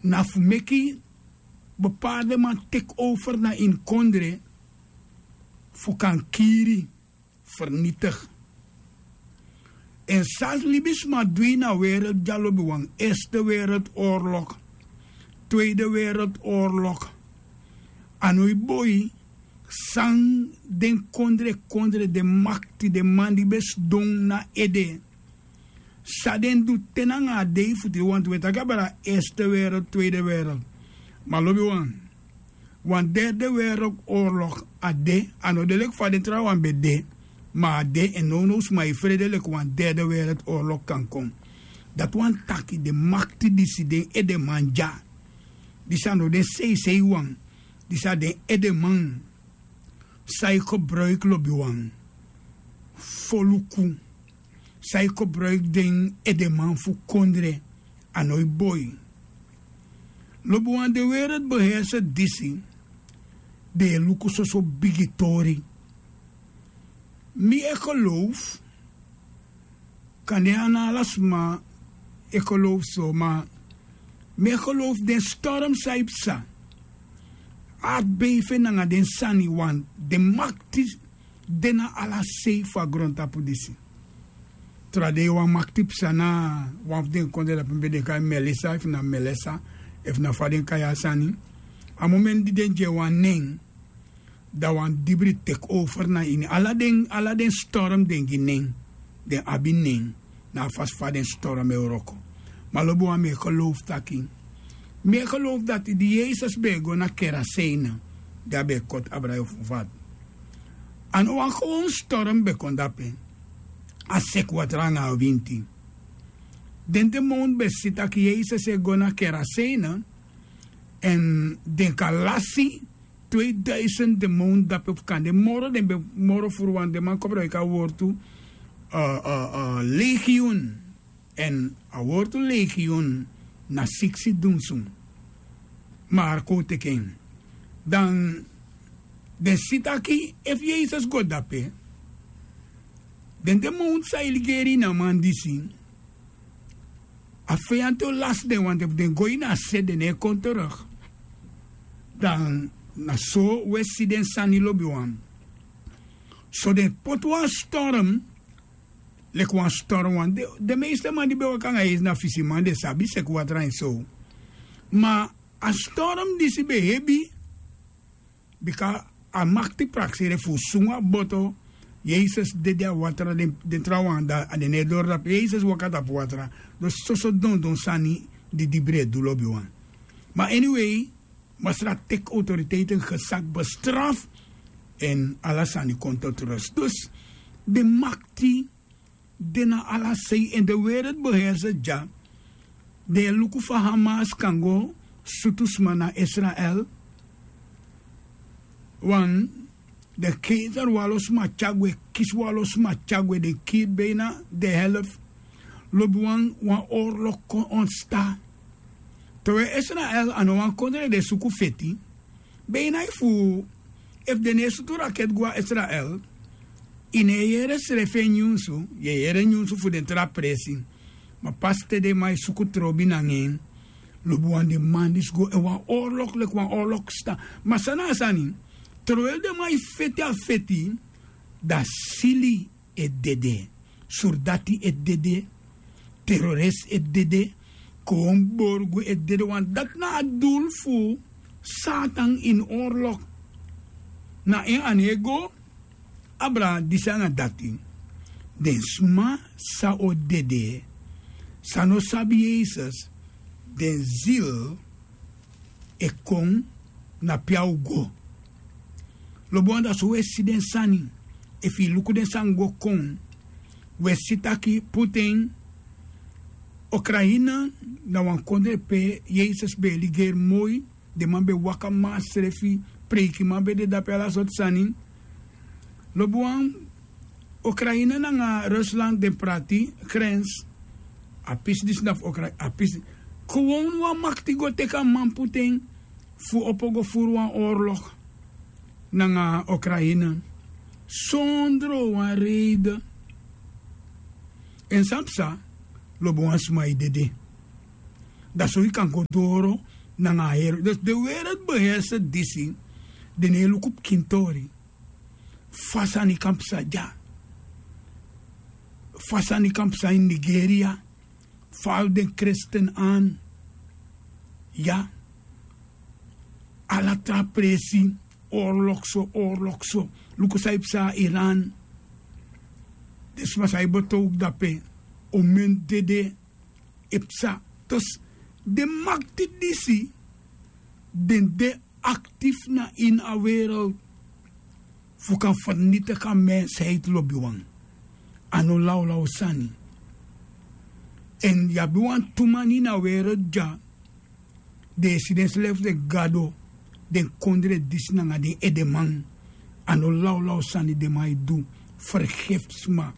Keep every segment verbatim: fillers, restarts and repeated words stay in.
Na fu meki bepaarde man teki over na ini kondre fu kan kiri, fernitigi. Èn san libisma du ini a wereld dya lobiwan, erste wereldoorlog, tweede wereldoorlog, a no e boi san den kondre kondre den makti den man di ben sidon na ede, san den du te nanga a dei fu tide wantu wi e taki abra erste wereld tweede wereld. Ma lobiwan, wan derde wereldoorlog a de. A no de leki fa den trawan ben de, ma a de. Èn nownow sma e frede leki wan derde wereldoorlog kan kon. Dati wani taki den makti disi den edeman dya, disi a no den seisei wan, disi a den edeman san e gebruiki lobiwan foluku, san e gebruiki den edeman fu kondre, a no e boi. Lobiwan, den weredbeherse disi den e luku soso bigi tori. Mi e geloof, kande a no ala sma e geloof so, ma mi e geloof den storm san e psa, artbeife nanga den sani, wan den makti de na ala sei fu a grontapu disi. Tra dei wan makti psa na wan fu den kondre dape mi ben de kai melisa efu na melesa, efu na fa den kai a sani. A momenti di den gi en wan nen, dan wan dibri teki over na ini ala den ala den storm den gi nen. Den abi nen na a fasi fa den storm e wroko. Ma lobi wan mi e geloofu taki, mi e geloofu dati di yesus ben e go na keraseina, di a ben e koti abra yu fu fati, a no wan gewon storm ben kon dape. A seki watra anga a winti. Den demon ben si tak' yesus e go na keraseina, èn den kan lasi tweduisend demon dape fu kande moro den ben moro furu wan den man kobra yu kan wortu legion. Èn a wortu legion na siksi dunsu. Ma a kon teki en, dan den si taki efu yesus go dape, den demon san e ligeri ini a man disi, a feyanti o lasi den wanten fu den go ini a se den no e kon teruk. Dan na so un e si den sani lobiwan. So den poti wan storm, leki wan storm wan den meeste man di ben waka anga yesus na fisiman den sabi seki watra en so. Ma a storm disi ben hebi, bika a makti prakseri fu sungu a boto. Yesus dede a watra den trawan anda a den no e dori tapu yesus waka tapu watra. Dus soso dondon sani di dibri e du lobiwan. Ma anyway, masra teki autoriteiten gesak bestraf, èn ala sani kon tot rus. Dus den makti de na ala sei èn den weredbeherse dya. Den e luku fa hamas kan go sutu sma na israel. Wan den keizer wan lo sma tyari gwe, kisi wan lo sma tyari gwe den kiri beina den helf. Lobi wan wan orlok kon ontsta. Te wi e israel a no wan kondre den suku feti. Beina efu efu den no e sutu raketi go na israel, yu no e yere srefi en nyunsu. Yu e yere nyunsu fu den tra presi. Ma pasi te den man e suku trobi nanga en, lobi wan den man disi go èn wan orlok leki wan orlok stan. Ma san na a sani? Trowel den man e feti a feti, dan sili e dede, surdati e dede, terorist e dede, kowon borgu e dede wan dati na a dul fu satan ini orlok. Na en a no e go abra disi anga dati. Den sma san o dede, san no sabi yesus, den zil e kon na pe a o go. Lobi wan da so un e si den sani. Efu yu luku den sani go kon, un e si taki puten ukraina na wan kondre pe yesus ben e ligeri moi. Den man ben waka masrefi, preikiman ben de dape ala sortu sani. Lobi wan, ukraina nanga rusland den prati grens. A pisi disi na fu ukraina a pisi. Gewon wan makti go teki a man puten fu opo go furu wan orlok nanga ukraina, sondro wan reide. Èn san psa? Lobi wan sma e dede. Dan so yu kan go doro nanga a heri. Dus den werelbeheerser disi, den no e luku pikintori. Fa sani kan psa dya, fa sani kan psa ini nigeria, fa den kresten an. Ya, ala tra presi, orlok so orlok so. Luku san e psa na iran. Den sma san e betow dape, omen dede e psa. Dus den makti disi, den de aktif na ini a wereld fu kan fernitigi a mensheid lobiwan. A no lawlaw sani. Èn yu abi wantu man ini a wereld dya, den e si denselefi den gado, den kondre disi nanga den edeman. A no lawlaw sani den man e du. Fergefi sma.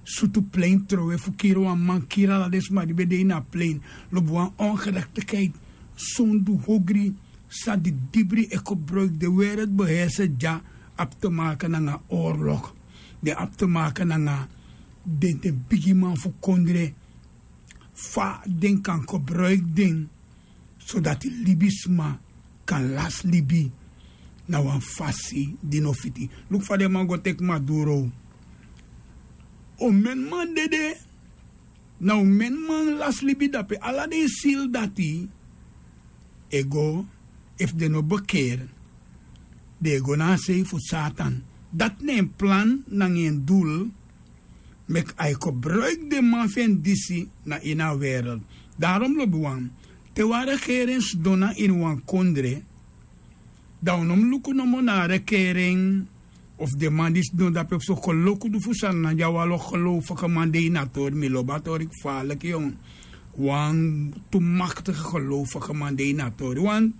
Sutu plein trowe fu kiri wan man, kiri ala den sma di ben de ini a plein. Lobi wan ongerektikheid, sondu, hogri, san didibri e kobroiki den wereldbeheerser dya. Abi te make nanga orlok. Den abi te make nanga den den bigiman fu kondre, fa den kan kobroiki den, sodati libisma kan lasi libi na wan fasi di no fiti. Luku fa den man go teki maduro. Omen man dede, na omen man lasi libi dape. Ala den sili dati e go, efu den no bekeri, den e go na a sei fu satan. Dati na en plan nanga en dul, meki a e kobroiki den man fu en disi na ini a wereld. Darom lobiwan, te wan rekeren sidon na ini wan kondre, dan un no mus luku nomo na a rekeren, of den man di sidon dape fu so koloku du fu sani na di a wan lo gelowfeke man de ini a tori. Mi lobi a tori kfaliki yon. Wantu maktigi gelowfeke man de ini a tori wan.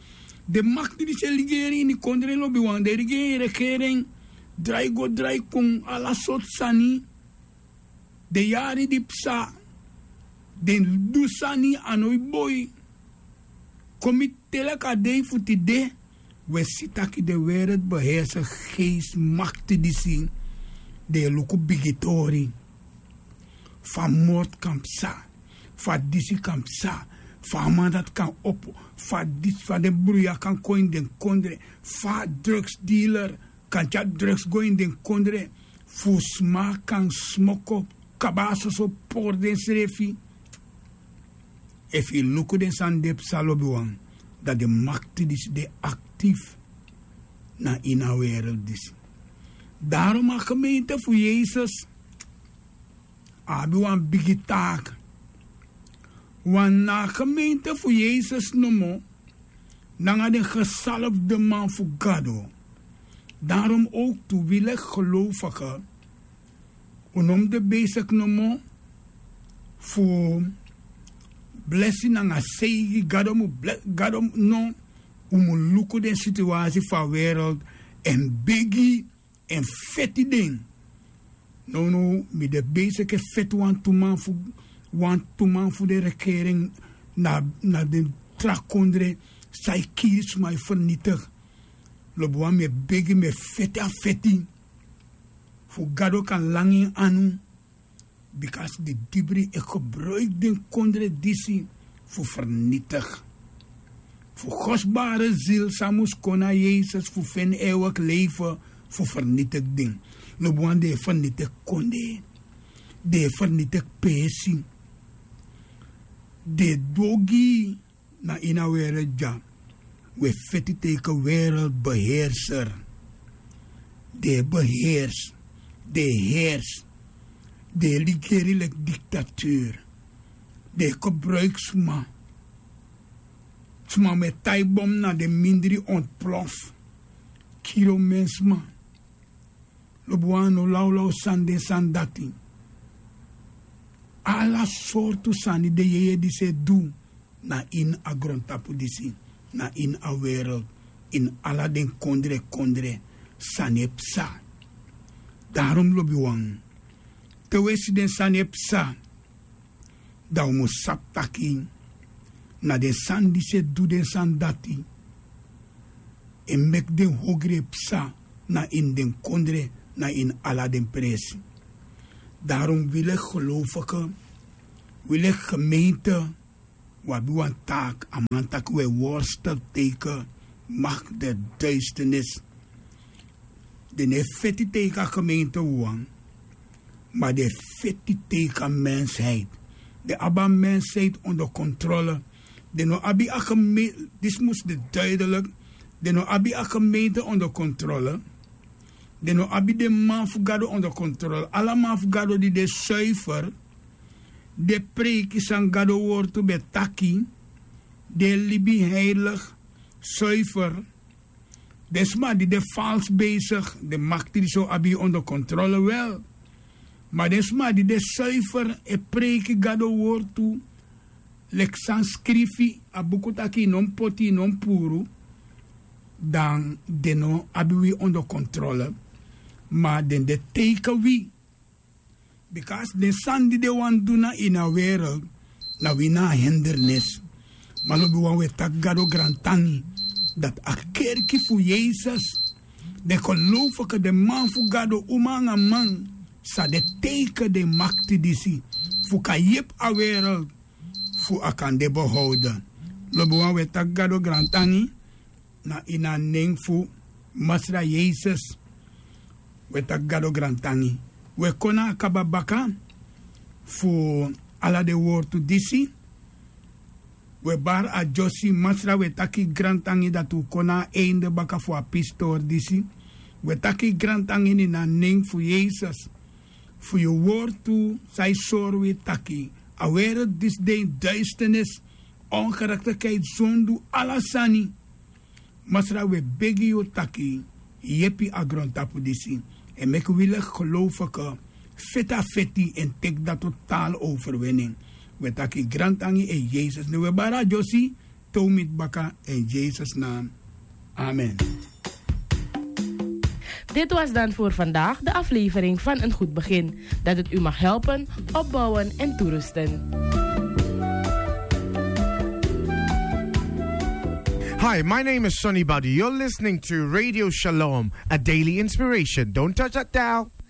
Den makti disi e ligeri ini kondre lobiwan, den e ligeri rekeren, drai go drai kon, ala sortu sani. Den yari di psa, den du sani a no e boi. Kon mi teleki a dei fu tide, un e si taki den wereldbeheerser geesi makti disi, den e luku bigitori. Fa mortu kan psa, fa disi kan psa, fa a man dati kan opo, fa disi fa den bruya kan kon ini den kondre, fa drugsdealer kan tyari drugs go ini den kondre, fu sma kan smoko kaba a soso pori densrefi. Efu yu luku den sani de psa lobiwan, dan den makti disi de aktif na ini a wereld disi. Darom a gemeente fu yesus a abi wan bigi taak. Wan na a gemeente fu yesus nomo, nanga den gesalfde man fu gado. Darom owktu wi leki gelowfeke, un no mus de besiki nomo fu blesi nanga seigi gado mu blesi gado. No, un mus luku den situasi fu a wereld, èn begi, èn feti den. Nownow mi de besiki e feti wantu man fu wantu man fu den rekeren na na den tra kondre, san e kiri sma e fernitigi. Lobiwan mi e begi mi e feti a feti fu gado kan langa en anu. Bika a sidibri e gebroiki den kondre disi fu fernitigi fu gosbare zil san mus kon na yesus fu feni eweki leife fu fernitigi den. Lobiwan den e fernitigi kondre, den e fernitigi peesi, den e du ogii. Na ini a wereld dya un e feti teike wereld beheerser. Den e beheers, den e heers, den e ligeri leki diktatuur. Den e kobroiki sma. Sma mu e tai bom na den mindri ontplof, kiri omen sma. Lobiwan a no lawlaw sani den sani dati. Ala sortu sani den yeye disi e du na ini a grontapu disi, na ini a wereld, ini ala den kondre kondre sani e psa. Darom lobiwan, te un e si den sani e psa, dan un mus sabi taki na den sani disi e du den sani dati, e meki den hogri e psa na ini den kondre, na ini ala den presi. Darom wi leki gelowfeke, wi leki gemeente, wi abi wan taak, a man taki wi e worstel teken makti de duisternis. Den no e feti teken a gemeente wawan, ma den e feti teken a mensheid. Den abi a mensheid onder kontrole. Den no abi a gemeente, disi mus de duidelik. Den no abi a gemeente onder kontrole. Den no abi den man fu gado onder kontrole. Ala man fu gado di de suifer, den preiki san gado wortu ben taki, den libi heilig, suifer. Den sma di de fals besig, den makti disi o abi yu onder kontrole wel. Ma den sma di de suifer e preiki gado wortu, leki san skrifi a buku taki yu no mus poti, yu no mus puru, dan den no abi wi onder kontrole. Ma den de teken wi. Bika den sani di den wani du na ini a wereld, na wi na a hindernis. Ma lobiwan, wi e taki gado grantangi dati a kerki fu yesus, den gelowfike, den man fu gado, uma nanga man, sa de teken den makti disi fu kan yepi a wereld fu a kan de behouden. Lobiwan, wi e taki gado grantangi na ini a nen fu masra yesus. Wi e taki gado grantangi. Wi e kon na a kaba baka fu ala den wortu disi. Wi e bari a dyosi, masra, wi e taki grantangi dati un kon na a einde baka fu a pistori disi. Wi e taki grantangi ini a nen fu yesus, fu yu wortu san yu sori wi taki a wereld disi de ini duisternis, ongerechtigheid, zondu, ala sani. Masra, wi e begi yu taki yepi a grontapu disi, èn meki wi leki gelowfike feti a feti èn teki dati totaal overwinning. Wi e taki grantangi ini yesus nen. Wi e bari a dyosi te un miti baka, in yesus naam. Amen. Dit was dan voor vandaag de aflevering van Een Goed Begin. Dat het u mag helpen, opbouwen en toerusten. Hi, my name is Sonny Badu. You're listening to Radio Shalom, a daily inspiration. Don't touch that dial.